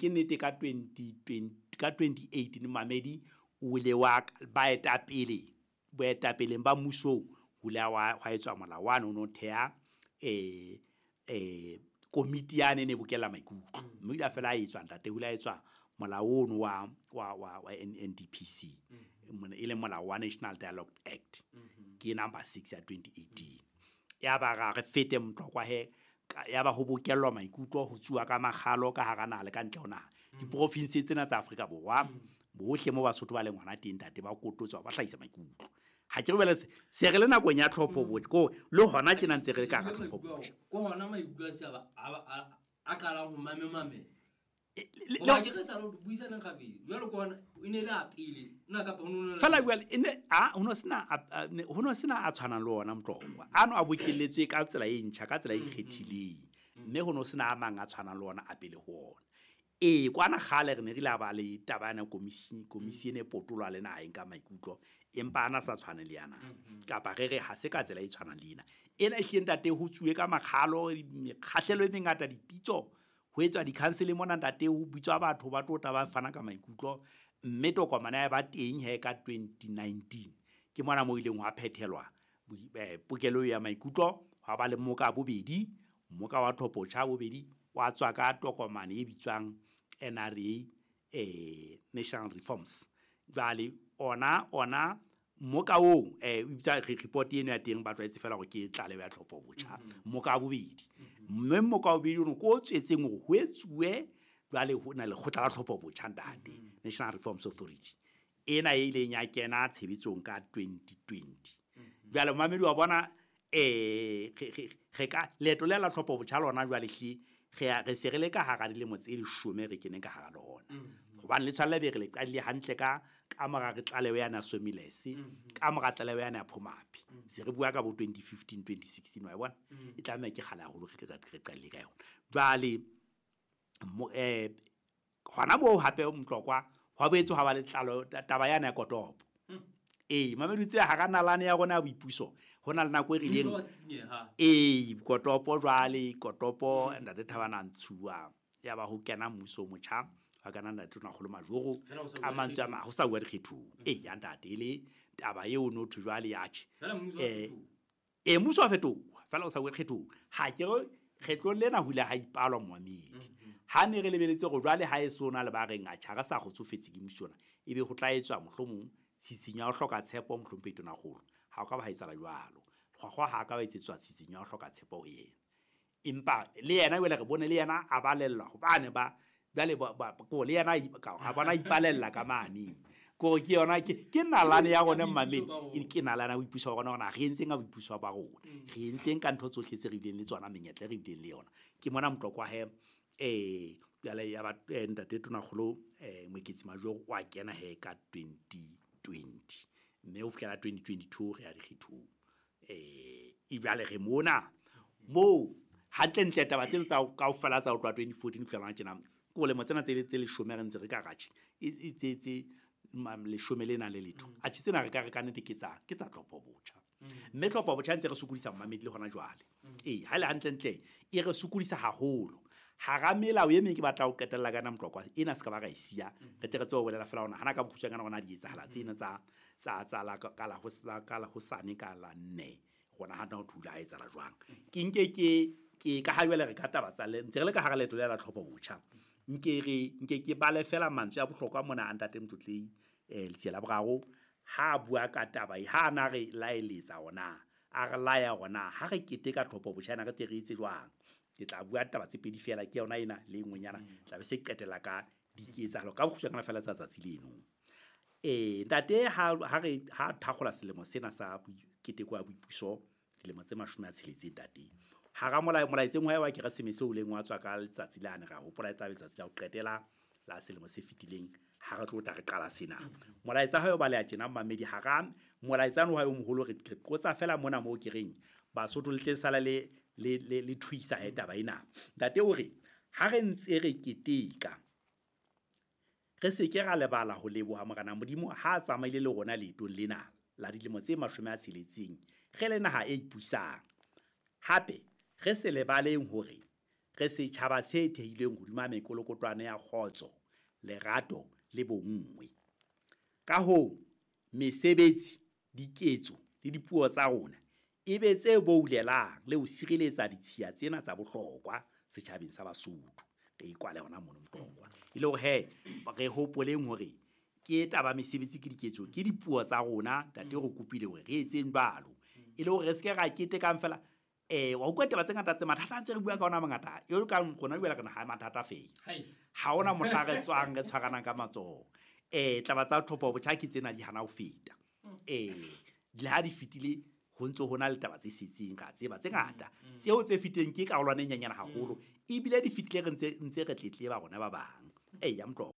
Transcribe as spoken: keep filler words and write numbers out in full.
ke nnete ka twenty twenty ka twenty eighteen mamedi o ile wa baetapele boetapeleng ba mmusong ho ile wa hwa etswa molao wa no thea eh eh komiti ya ne ne bokella maikutlo mme ile fela a etswa ntate ho ile etswa molao ono wa wa wa N D P C e le molao wa National Dialogue Act ke number six ya twenty eighteen ya ba ra re fete Motlokwa he ya ba ho bokellwa maikutlo ho tsuwa ka makgalo ka hara naha le ka ntle ho naha diprovince tsena tsa Afrika Borwa bohle mo Basotho ba leng hona teng ntate ba kototswa ba hlahisa maikutlo ha ke re bele se re le nakong ya tlhopho bo ko le hona tjena ntse re ka ka tlhopho ko hona maikutlo a setjhaba a qalang ho mamemame le ke re sa lo buisanang gape jwalo ko hona e ne le a pele nna kapa ho no fela jwale e ne a ho no sena ho no sena a tshwanang le ona Motlokwa ano a bokelletswe ka tsela e ntjha ka tsela e ikgethileng mme ho no sena a mang a tshwanang le ona a pele ho ona e kwana kgale re ne re la ba le taba yana komisi komisi ene potolwa le naha ka maikutlo empa ana sa tshwane le yana kapa re re ha se ka tsela e tshwanang le ena ena e hleng ntate ho tsuwe ka makgalo mekgahlelo e mengata dipitso ho etswa di-council mona ntate ho bitswa batho ba tlo tla ba fana ka maikutlo mme tokomane ya ba teng he ka twenty nineteen ke mona mo ileng wa phethelwa pokelo ya maikutlo ha ba le moka bobedi moka wa tlhopho bobedi wa tswa ka tokomane e bitswang N R A eh National Reforms jwale ona ona moka o eh bitsa report eno ya teng ba tlwaetse fela gore ke tlaleho ya tlhopho botjha moka bobedi mme moka bobedi ono ko tswetseng hore ho etsuwe jwale ho na le lekgotla la tlhopho botjha ntate National Reforms Authority ena e ileng ya kena tshebetsong ka twenty twenty jwale mamedi wa bona eh re ka leeto le la tlhopho botjha lona jwale hle re re se re le ka hara dilemo tse leshome re keneng ka hara lona hobane le tshwanela be re le qadile hantle ka ka mora re tlaleho yana Somilese ka mora tlaleho yana ya Phomaphi se re bua ka bo twenty fifteen twenty sixteen wa bona e tlameha ke kgale haholo re re qadile ka yona jwale eh hona moo hape Motlokwa hwa boetse ha ba le tlalo taba yana ya kotopo ee mamedi tse hara nalane ya rona ya boipuso hona le nako e rileng ee kotopo jwale kotopo ntate Thabana Ntshuwa ya ba ho kena mmuso motjha wa kana ntate Tonakgolo Majoro ka mantswe a ho sa bua dikgethong ee ya ntate ele taba eo no thwe jwale ya tjhe eh e mmuso wa fetoha fela o sa bua dikgethong ha ke re kgetlong lena ho ile ha ipalwa momamedi ha ne re lebeletse hore jwale ha e sona le ba reng a tjha re sa kgotsofetse ke mmuso ona ebe ho tla etswa mohlomong tshitshinyo ya ho hloka tshepo mohlomphehi Tonakgolo ha o ka ba ha etsahala jwalo kgwakgwa ha ka ba etsetswa tshitshinyo ya ho hloka tshepo ho yena empa le yena jwale re bone le yena a balellwa hobane ba jwale ko le yena a bona ipalella ka mane ko ke yona ke ke nalane ya rona mmamedi ke nalane ya boipuso wa rona hore re entseng ka boipuso ba rona re entseng ka ntho tsohle tse re bileng le tsona menyetla re bileng le yona ke mona Motlokwa he eh jwale ya ba ntate Tonakgolo eh Moeketsi Majoro wa kena he ka twenty twenty mme ho fihlela twenty twenty-two re ya dikgethong eh ebjale re mona moo hantlentle taba tseno tsa kaofela tsa ho tloha twenty fourteen ho fihlela tjena ke bolemo tsena tse tse leshome re ntse re ka ratjhe e tse tse leshome le nang le letho atjhe tsena re ka re ka nnete ke tsa ke tsa tlhopho botjha mme tlhopho botjha ntse re sokodisa mmamedi le hona jwale ee ha le hantlentle e re sokodisa haholo hara melao e meng ke batla ho qetella ka nna Motlokwa ena se ka ba ra e siya re tle re tsebe ho bolela fela hona hana ka bokgutshwanyane hona di etsahala tsena tsa tsa tsa la ka la ho ka la hosane ka la nne rona ha nna ho thula ha etsahala jwang ke nke ke ke ka ha jwale re ka taba tsa le ntse re le ka hara leeto le la tlhopho botjha nke re nke ke bale fela mantswe a bohlokwa mona a ntate Motlotlei eh Letsie la Boraro ha bua ka taba e ha na re laeletsa ona a re laya ona ha re keteka tlhopho botjha na re tle re etse jwang ke tla bua taba tse pedi fela ke yona ena le nngwenyana tla be se qetela ka diketsahalo ka bokgutshwanyane fela tsa tsatsi leno eh ntate ha ha re ha thakgola selemo sena sa keteko ya boipuso dilemo tse mashome a tsheletseng ntate hara molao molaetseng wa wa Keresemese o leng wa tswa ka letsatsi la ne ra hopola e tla be letsatsi la ho qetela la selemo se fetileng ha re tlo tla re qala sena molaetsa ha yo baleha tjena mmamedi hara molaetsano wa yo moholo re qotsa fela mona moo ke reng Basotho le tle sala le le le le thuisa he taba ena ntate o re ha re ntse re keteka re se ke ra lebala ho leboha Morena Modimo ha a tsamaile le rona leetong lena la dilemo tse mashome a tsheletseng re le naha e ipusang hape re se lebaleng hore Re setjhaba se thehilweng hodima mekolokotwane ya kgotso, lerato le bonngwe. Ka hoo, mesebetsi, diketso le dipuo tsa rona e be tse boulelang le ho sireletsa ditshiya tsena tsa bohlokwa setjhabeng sa Basotho. Re ikwale hona mono Motlokwa. E le hore he, re hopoleng hore ke taba mesebetsi ke diketso, ke dipuo tsa rona, ntate re kopile hore re etseng jwalo. E le hore re seke ra ketekang fela, eh wa utlwa taba tse ngata tse mathata a ntse re bua ka ona a mangata. E ka rona jwale re ha mathata fela. Ha hona mohla re tswang re tshwaranang ka matsoho. Eh taba tsa tlhopho botjha ke tsena di hana ho feta. Eh le ha di fetile ho ntso hona le taba tse setseng ka tseba tse ngata. Tseo tse fetileng ke karolwana e nyenyane haholo. Ebile di fetile re ntse ntse re tletleba rona ba bang. Eya Motlokwa.